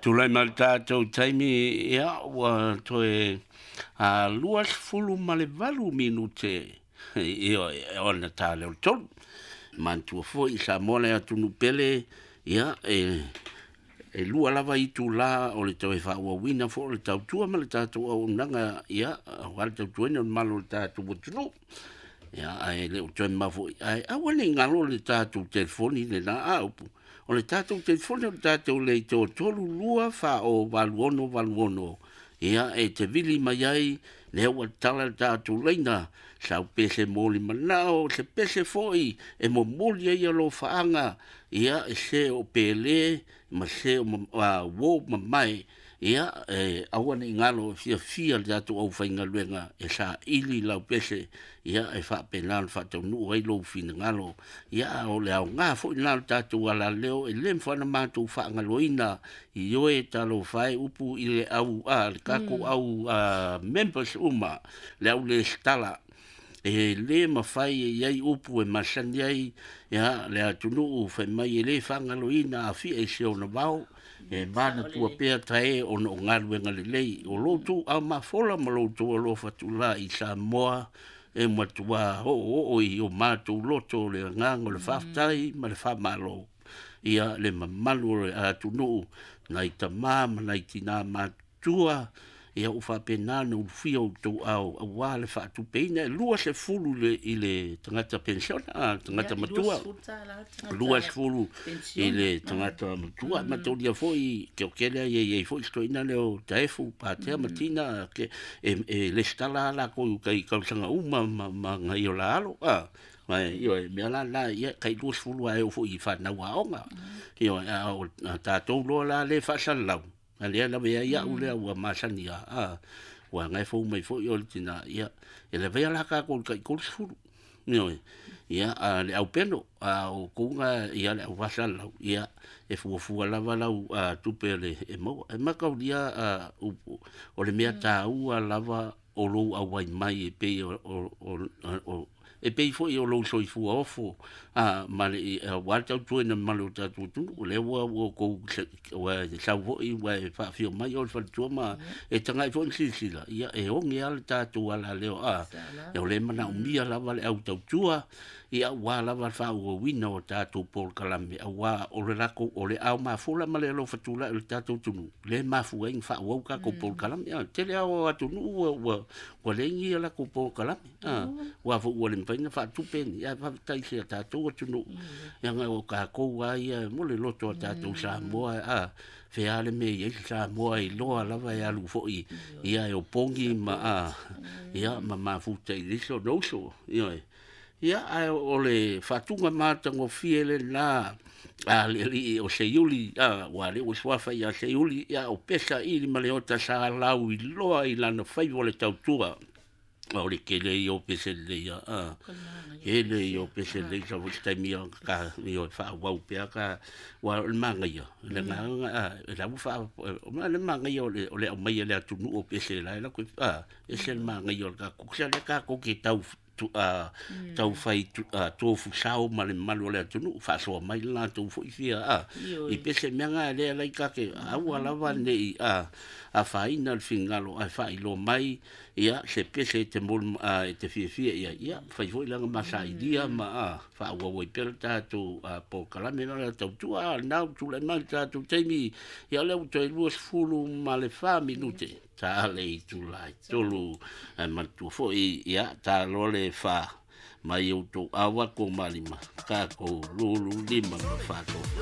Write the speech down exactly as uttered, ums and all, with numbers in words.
Tulai mai le tatou taimi, ia, ua toe a lua sefulu ma le valu minute ia ona ta lea o le tolu. Manatua foi Samoa le atunuu pele, ia, e e lua lava itulā o le toe faaauauina foi o le tautua ma le tatou auaunaga, ia, aua le tautuaina o le mamalu o le tatou atunuu. Ia, ae le o toe mamao foi, ae aua ne i galo le tatou telefoni lena a upu. O le tatou telefoni o le tatou leitio tolu lua fa o valu ono valu ono. Ia, e te vili mai ai, lea ua tala le tatou laina, sau pese moli manao, se pese foi e momoli ai alofaaga, ia, e se o pele ma se o uo mamae, ia, e aua ne i galo, fiafia le tatou aufaigaluega e saili lau pese, ia, e faapena ona faataunuu ai lou finagalo. Ia, o le aoga foi lena o le tatou alaleo, e le mafai ona matou faagaloina i oe, talofa e upu i le au a le tatou au a members uma, le au lesitala. E le mafai e i ai upu e masani ai, ia, le atunuu fai mai e le faagaloina afia i se ona vao, e manatua pea tae ona o galuega lelei o lo outou aumafola ma lo outou alofa tulā i Samoa, e matuā oooo i o matou loto o le agaga o le faafetai ma le faamalo. Ia, le mamalu o le atunuu, nai tamā ma nai tinā matutua, ia, ua faapena ona ulufia outou ao aua le faatupeina e lua sefulu le, i le tagata penisiona, tagata matua, lua sefulu i le tagata matua. Mataulia foi keokele ia iai foi se toeaina lea o Taefu Patea ma Tina ke e, e lesitala lakou kai tausaga uma ma, ma ngai o la alo a ma ioe mea la la ia kai lua sefulu ae oo foi i fanau aoga. Ioe, a o tatou loa la le faasalalau a lea lave ai au lea ua masani a a ua ngai fou mai foi o le tina, ia, e lavea la tatou i le tai tolu sefulu. Ioe, ia, a le au peno a o kouga, ia, le au faasalalau, ia, e fuafua lava lau a, tupe le e maua e mataulia a, upu o le mea taua lava o lou auai mai e pei o, o, o, o e pei foi o lou soifua ofo a ma le aua le tautuaina mamalu o le tatou atunuu. Lea ua ua outou ua sau foi ua e faafio mai o le faletua ma e tagai foi ma silasila, ia, e oge lava le tatou alaleo a o le manaomia lava le au tautua, ia, aua lava le faaauauina o tatou polokalame, aua o le latou o le ao mafola ma le alofa tulai o le tatou atunuu le mafua ai ona faaauau tatou polokalame. A tele lava o atunuu ua ua ua leai ni latou polokalame a ua foi ua le mafai ona faatupe ni, ae faafetai i si a tatou atunuu, ia, o tatou lava ia mo le loto a tatou Samoa a fea le mea i ai se Samoa e iloa lava e alu foi, ia, e opogi ma a ia ma mafuta i le isi ona uso. Ioe, ia, ae o le faatuga matagofie lena a le alii o Seiuli, a ua le ua suafa ia Seiuli, ia, o pesa ili ma le ota sa lau iloa i lana faiva o le tautua. O le tele ia o pese lelei a tele ia o pese lelei sa foi se taimi ka ioe faaauau pea ka ua o le manaia le agaga a e la ua faa o le manaia o le o le aumai e le atunuu o pese la e latou a ese le manaia o le tatou sa lea tatou te tau a tau fai tofusao ma le mamalu o le atunuu faasoa mai le latou foi fia a i pese mea na lea lai take aua lava nei a afaina le finagalo ae faailoa mai, ia, se pese e te mol e te fiafia ia, ia, fai foi lana masailia ma a faaauau ai pea le tatou polokalame la le tautua. A na tulai mai le tatou taimi, ia, lea ua toe lua sefulu ma le fa minute ta le itula e tolu, ae manatua foi, ia, ta loa le fa mai outou awa ko malima tatou lulu lima ma faatofa.